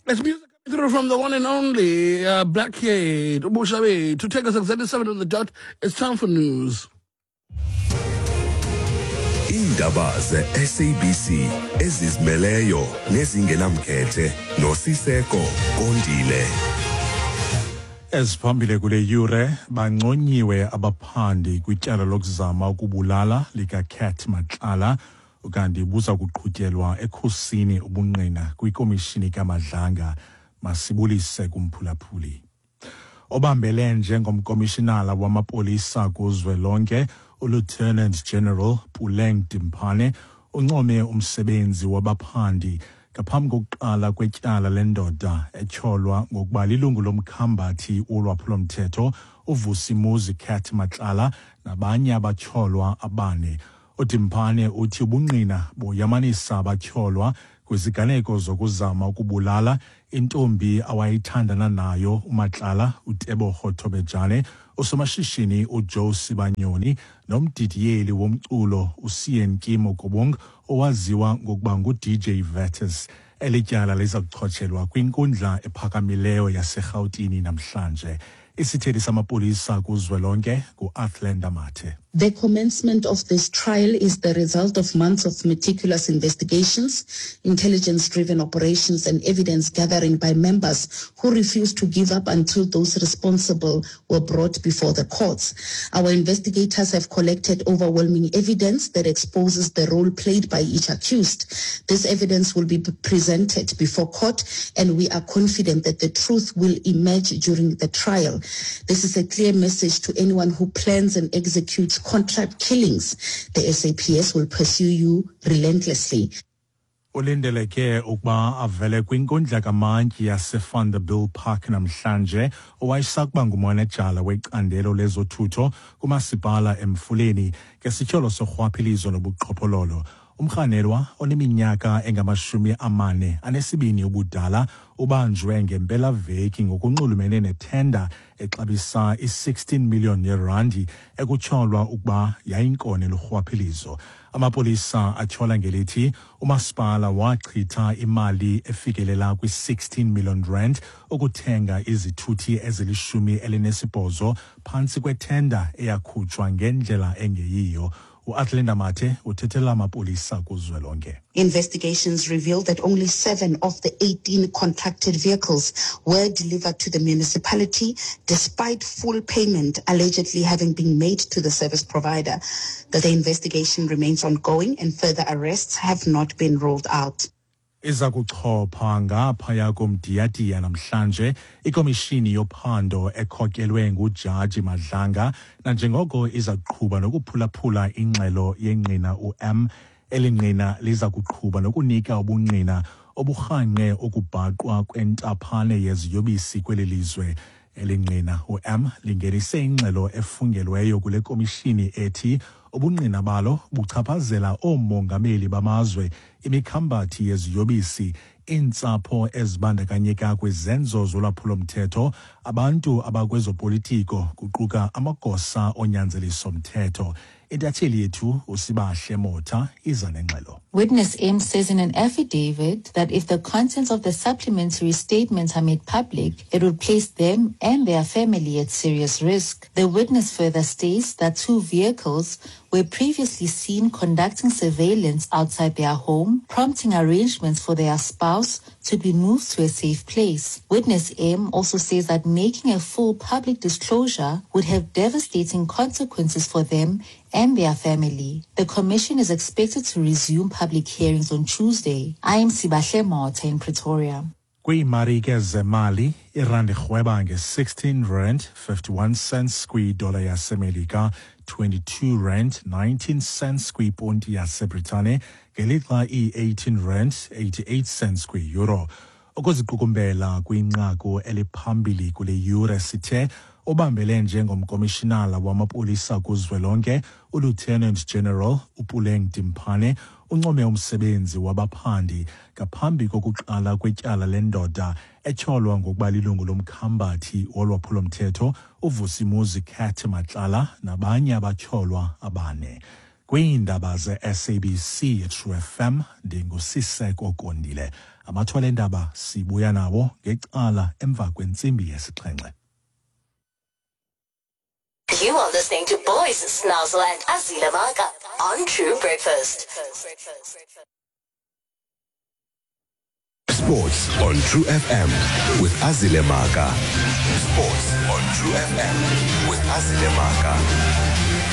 It's music coming through from the one and only uh, Blackade Ubushabe to take us exactly 7 on the dot. It's time for news. Iindaba ze-SABC ezizimeleyo nezingenamkhethe noSiseko Kondile. Eziphambili kule yure banconyiwe abaphandi kwityala lokuzama ukubulala likaCat Matlala ukanti buza kuqhutyelwa ekhusini ubungqina kwikomishini kaMadlanga. Masibulise kumphulaphuli. Obambele njengomkomishinala wamapolisa kuzwelonke uLieutenant General Puleng Dimpane uncome umsebenzi wabaphandi ngaphambi kokuqala kwetyala lendoda etyholwa ngokuba lilungu lomkhambathi wolwaphulomthetho uVusimuzi Cat Matlala nabanye abatyholwa abane. UDimpane uthi ubungqina boyamanisa abatyholwa kwiziganeko zokuzama ukubulala intombi awayithandana nayo uMatlala uTebogo Thobejane, usomashishini uJoe Sibanyoni nomdidiyeli womculo uSean Kimo Kobong owaziwa ngokuba nguDJ Vetus. Eli tyala liza kuchotshelwa kwinkundla ephakamileyo yaseRhawutini namhlanje. Isithethi samapolisa kuzwelonke nguAthlenda Mathe. The commencement of this trial is the result of months of meticulous investigations, intelligence-driven operations and evidence gathering by members who refused to give up until those responsible were brought before the courts. Our investigators have collected overwhelming evidence that exposes the role played by each accused. This evidence will be presented before court and we are confident that the truth will emerge during the trial. This is a clear message to anyone who plans and executes contract killings. The SAPS will pursue you relentlessly. Ulindeleke ukuba avele kwinkundla kamantyi yaseVanderbijlpark namhlanje owayesakuba ngumanejala wecandelo lezothutho kumasipala Emfuleni ngesityholo sorhwaphilizo nobuqhophololo. Umrhanelwa oneminyaka engamashumi amane anesibini ubudala ubanjwe ngempelaveki ngokunxulumene nethenda exabisa i-16 million yerandi ekutyholwa ukuba yayinkone lurhwaphilizo. Amapolisa atyhola ngelithi umasipala wachitha imali efikelela kwi-16 million rand ukuthenga izithuthi ezilishumi elinesibhozo phantsi kwethenda eyakhutshwa ngendlela engeyiyo. UAthlenda Mathe uthethela amapolisa kuzwelonke. Investigations revealed that only 7 of the 18 contracted vehicles were delivered to the municipality, despite full payment allegedly having been made to the service provider. That the investigation remains ongoing and further arrests have not been ruled out. Iza kuchopha ngaphaya komdiyadiya namhlanje ikomishini yophando ekhokelwe nguJaji Madlanga nanjengoko iza kuqhuba nokuphulaphula ingxelo yengqina u-M. Eli ngqina liza kuqhuba nokunika ubungqina oburhanqe ukubhaqwa kwentaphane yeziyobisi kweli lizwe. Eli ngqina u-M lingenise ingxelo efungelweyo kule komishini ethi ubungqina balo buchaphazela oomongameli bamazwe, imikhambathi yeziyobisi, iintsapho ezibandakanyeka kwizenzo zolwaphulo-mthetho, abantu abakwezopolitiko kuquka amagosa onyanzeliso-mthetho. Intatheli yethu uSibahle Motha iza nengxelo. Witness M says in an affidavit that if the contents of the supplementary statements are made public, it would place them and their family at serious risk. The witness further states that 2 vehicles were previously seen conducting surveillance outside their home, prompting arrangements for their spouse to be moved to a safe place. Witness M also says that making a full public disclosure would have devastating consequences for them and their family. The commission is expected to resume public hearings on Tuesday. I am Sibahle Motha in Pretoria. Kwiimarike zemali, irandi irhweba nge-16 rand 51 cents kwidola yaseMelika, 22 rand 19 cents kwiponti yaseBritane, ngelixa i-18 rand 88 cents kwi-euro. Ukuziqukumbela kwinqaku eliphambili kule yure sithe obambele njengomkomishinala wamapolisa kuzwelonke uLieutenant General uPuleng Dimpane uncome umsebenzi wabaphandi ngaphambi kokuqala kwetyala lendoda etyholwa ngokuba lilungu lomkhambathi wolwaphulomthetho uVusimuzi Cat Matlala nabanye abatyholwa abane. Kwiindaba ze-SABC True FM, ndinguSiseko Kondile. Amathwala endaba sibuya nawo ngecala emva kwentsimbi yesixhenxe. You are listening to Boys Snozzle and Azila Maka on True Breakfast. Sports on True FM with Azile Maka. Sports on True FM with Azile Maka.